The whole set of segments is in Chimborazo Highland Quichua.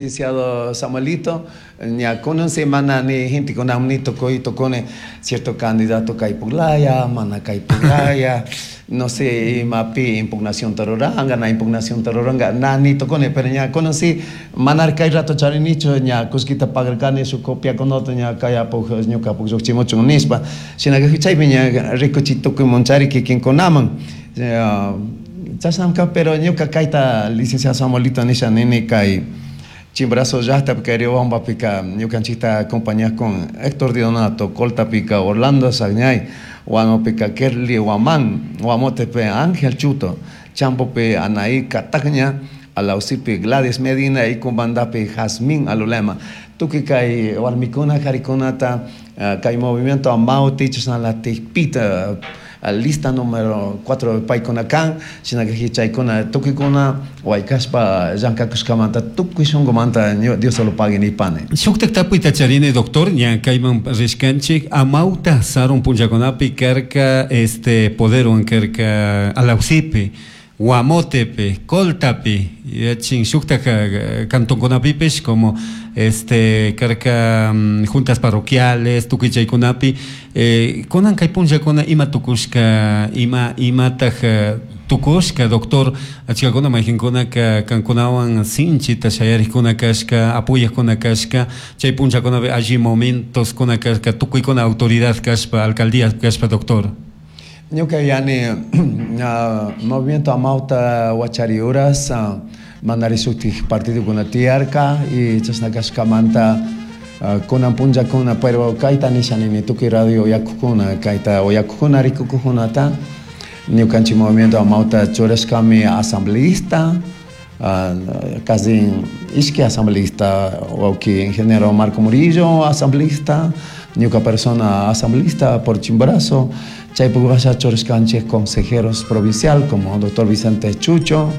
Licenciado Samuelito, ña kunan semana ni gentekuna ni tukuy tukuni cierto candidato kaypuklaya, mana kaypuklaya, no sé imapi impugnacionta ruranga, na impugnacionta ruranga, na ni tukuni, pero ña kunan si manar kay rato charinichu, ña kullkita pagarkani shuk copiakunata ña kayapuk ñukapuk llukchimuchun nishpa, shinaka chaypi ña rikuchi tukuy munchari kikinkunaman. Chashnamka, pero ñuka kayta licenciado Samuelito nisha nini kay Chimborazo llaqtapi kay Riobambapika ñukanchikta acompañaq con Héctor Di Donato, Coltapika Orlando Sagñay, Huanopika Kerly Guamán, Guamotepe Ángel Chuto, Champopi Anaí Catacña, Alausipi Gladys Medina y Cumbandapi Jazmín Alulema. Tukuy kay warmikuna qharikunata kay movimiento Amauti chashnalatik pita lista número 4 paykuna kan, shinaka chaykuna tukuykuna waykashpa llank'akushkamanta tukuy shunqumanta Dios solo pague nipani. Shuktak tapuyta charini, doctor, ña kayman rishkanchik, Amauta sarun punllakunapi karka poderwan karka Alausipi, Guamotepi, Coltapi, yachin shuktak cantonkunapipish como karka juntas parroquiales, tukuy chaykunapi, kunan kay punllakuna ima tukushka, ima imataj tukushka, doctor, achkakuna mayqinkunaka kankunawan sinchita shayarikkuna kashka, apoyaqkuna kashka, chay punllakunapi alli momentoskuna kashka, tukuykuna autoridad kashpa, alcaldía kashpa, doctor. Ñuka yani movimiento Amauta wachari uras manari shutik partidokuna tiyarka y chashna kashkamanta kunan punllakuna, pero kayta nisha nini tukuy radio uyakukuna, kayta uyakukuna rikukukunata, ñukanchik movimiento Amauta churashkami asambleísta, casi ishki asambleísta, wawki ingeniero Marco Murillo asambleísta, ñuka persona asambleísta por Chimborazo, chaypuk washa churashkanchik consejeros provincial como doctor Vicente Chucho,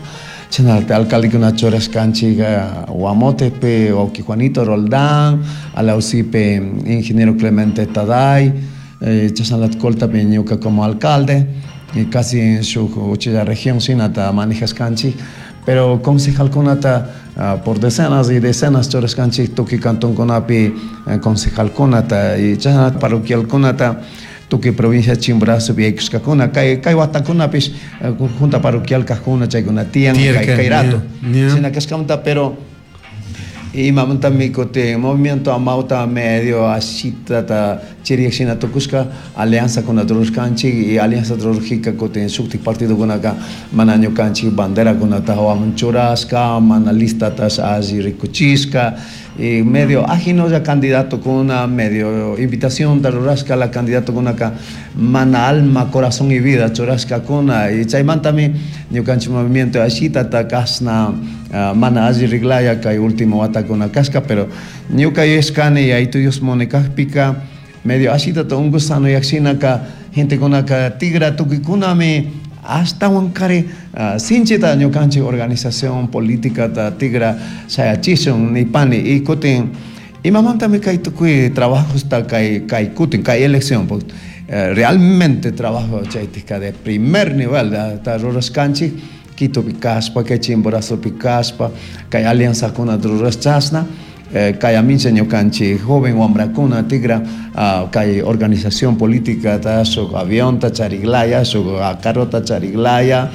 chashnalatik alcaldekuna churashkanchik Guamotepe wawki Juanito Roldán, Alausipe ingeniero Clemente Taday, chashnalatik Coltapi ñuka como alcalde, y casi shuk uchilla región shinata manejashkanchik, pero concejalkunata por decenas y decenas churashkanchik tukuy cantonkunapi concejalkunata y chashna parroquialkunata tukuy provincia Chimborazopi yaykushkakuna, kay kay watakunapish junta parroquial kajkuna chaykuna tiyan kay kay rato. Shina kashkamanta, pero imamantami kutin movimiento Amauta medio ashitata chiriyak shina tukushka alianzakunata rurashkanchik y alianza rurajika kutin shuktik partidokunaka mana ñukanchik banderakunata hawaman churashka, mana listatash alli rikuchishka y medio ajinolla candidatokuna, medio invitacionta rurashka la candidatokunaka mana alma, corazón y vida churashkakuna y chaymantami ñukanchik movimiento ashitata kashna mana alli riglaya kay último watakuna kashka, pero ñuka yuyashkani Yayitu Dios munikakpika medio ashitata unkusanoyakshinaka gentekunaka tigra tukuykunami ashtawankari sinchita ñukanchik organización políticata tigra shayachishun nipani y kutin imamantami kay tukuy trabajosta kay kay kutin kay elección realmente trabajo chaytika de primer nivel ta rurashkanchik Quitopi kashpa, kay Chimborazopi kashpa, kay alianzakunata rurash chashna, kay amincha ñukanchik joven wambrakuna tigra kay organización políticata shuk avionta chariglaya, shuk carrota chariglaya,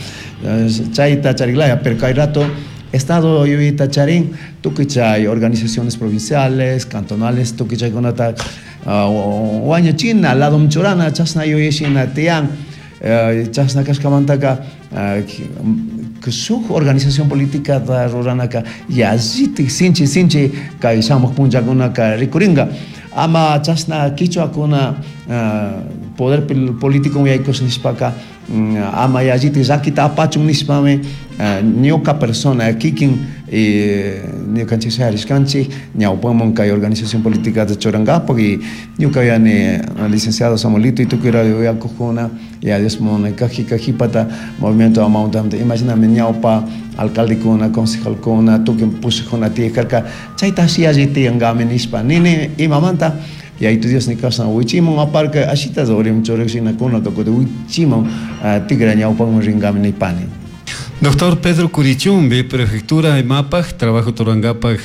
chayta chariglaya, pero kay rato Estado yuyayta charin tukuy chay organizaciones provinciales, cantonales, tukuy chaykunata wañuchina, ladom churana, chashna yuyashina tiyan, chashna kashkamantaka shuk organización política ruranaka yallitik sinchi sinchi kay shamuk punllakunaka rikurinka. Ama chashna kichwakuna poder político yaykush nishpaka ama yallitik llakita apachun nishpami ñuka persona kikin ñukanchik shayarishkanchik ñawpaman kay organización política churankapak y ñuka yani licenciado Samuelito y tukuy radio uyakukuna y a Dios munikajika jipata movimiento Amauta imaginami ñawpa alcaldekuna, concejalkuna, tukuy pushakuna tiyakarka chayta alli alli tiyankami nishpa nini imamanta Yayitu Dios nikashna wichiman aparka ashita uriman churak shinakuna kutin wichiman tigra ñawpaman rinkami nipani. Doctor Pedro Curichumbi, prefectura imapaj, trabajo rurangapaj.